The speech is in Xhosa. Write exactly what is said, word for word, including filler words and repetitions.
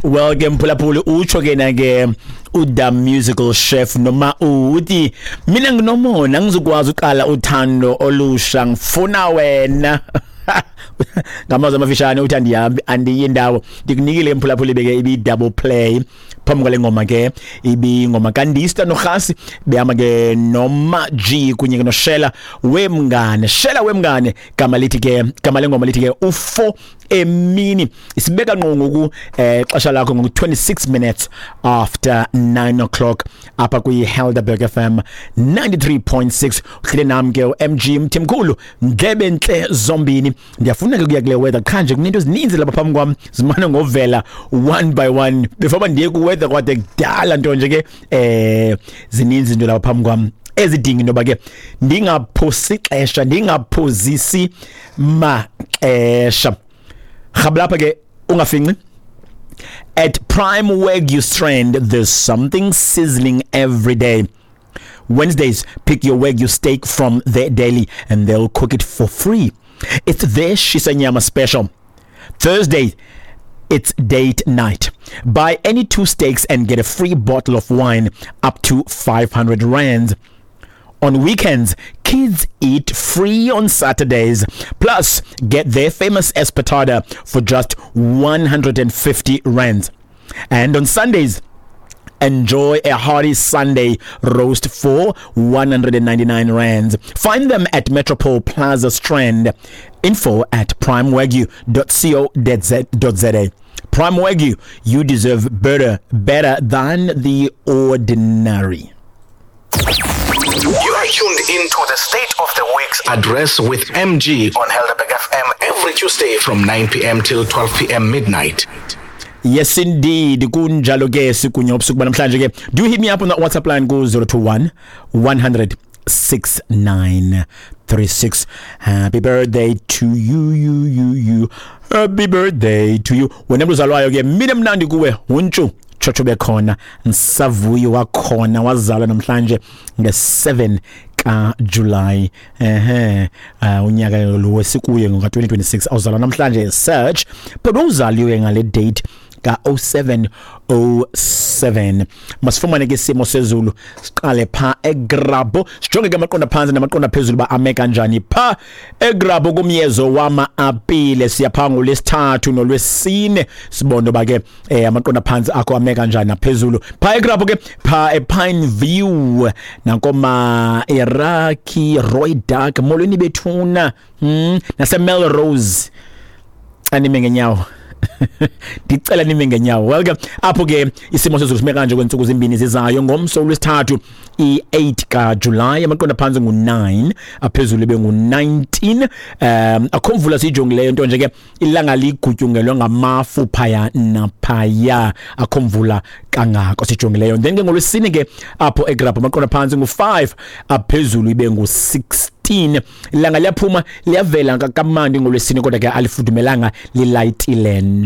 Well ke mphulaphuli, utsho ke na ke uDa Musical Chef noma uthi mina nginomona, ngizokwazi uqala uthando olusha, ngifuna wena. Ngamazwi amafishane uthi andihambi, andiyi ndawo. Ndikunikile mphulaphuli beke ibi double play phambi kwale ngoma ke, ibingoma kaNdista noRhasi behamba ke noma G kunye ke noShela Wemngane. Shela Wemngane gama lithi ke, gama lengoma lithi ke ufo emini. Isibeka ngqo ngoku eh xesha lakho ngoku twenty-six minutes after nine o'clock apha kwi Helderberg F M ninety-three point six. Uhlele nam ke M G Mthimkhulu, ndlebe ntle zombini. Ndiyafuna ke kuya kule weather, qha nje kunento ezininzi lapha phambi kwam zimane ngovela one by one before ndiye ku weather, kwade kudala nto nje ke eh zininzi into lapha phambi kwam ezidinga into yoba ke ndingaphosi ixesha, ndingaphozisi maxesha. Rhabalapha ke ungafinci. At Prime Wagyu Strand, there's something sizzling every day. Wednesdays, pick your Wagyu steak from their deli and they'll cook it for free. It's their Shisanyama special. Thursday, it's date night. Buy any two steaks and get a free bottle of wine up to five hundred rands. On weekends, kids eat free on Saturdays. Plus, get their famous espetada for just one hundred fifty rands. And on Sundays, enjoy a hearty Sunday roast for one hundred ninety-nine rands. Find them at Metropole Plaza Strand. Info at primewagyu dot co dot za. Prime Wagyu, you deserve better, better than the ordinary. You are tuned into the State of the Week's Address with M G on Helderberg F M every Tuesday from nine p m till twelve p m midnight. Yes indeed, kunjalo ke, sikunye ubusuku banamhlanje ke. Do hit me up on that WhatsApp line ku zero two one one hundred six nine three six. Happy birthday to you, you, you, you. Happy birthday to you. Wena mntu uzalwayo ke, mina mnandi kuwe, huntshu tshotsho bekhona nsavuyo wakhona wazalwa namhlanje nge-seven kaJuly ehe uh, unyaka lo wesikuye ngoka twenty twenty-six, awuzalwa namhlanje search, but uzaliwe ngale date ka oh seven oh seven. Masifumane ke isimo sezulu, siqale pha eGrabho, sijonge ke amaqonda phansi namaqonda phezulu ba ame kanjani pha eGrabho kumyezo wama-apile. Siyapha ngolwesithathu nolwesine, sibone ba ke eh, amaqonda phansi akho ame kanjani naphezulu pha eGrabho ke, pha ePine View nakoma Iraki Roy Dark. Molweni bethuna hmm nase Melrose, anime ngenyawo, ndicela nime ngenyawo. Welcome apho ke. Isimo sezulu sime kanje kweentsuku zimbini zizayo. Ngomso lwesithathu i-eight kaJuly, amaqonda phantsi ngu-nine, aphezulu ibe ngu-nineteen. um akho mvula siyijongileyo, nto nje ke ilanga ligutyungelwe ngamafu phaya naphaya, akho mvula kangako sijongileyo. Then ke ngolwesine ke apho eGrabho, amaqonda phantsi ngu-five, aphezulu ibe ngu-sixteen. Ilanga liyaphuma, liyavela kamandi ngolwesine, kodwa ke alifudumelanga, lilayitile.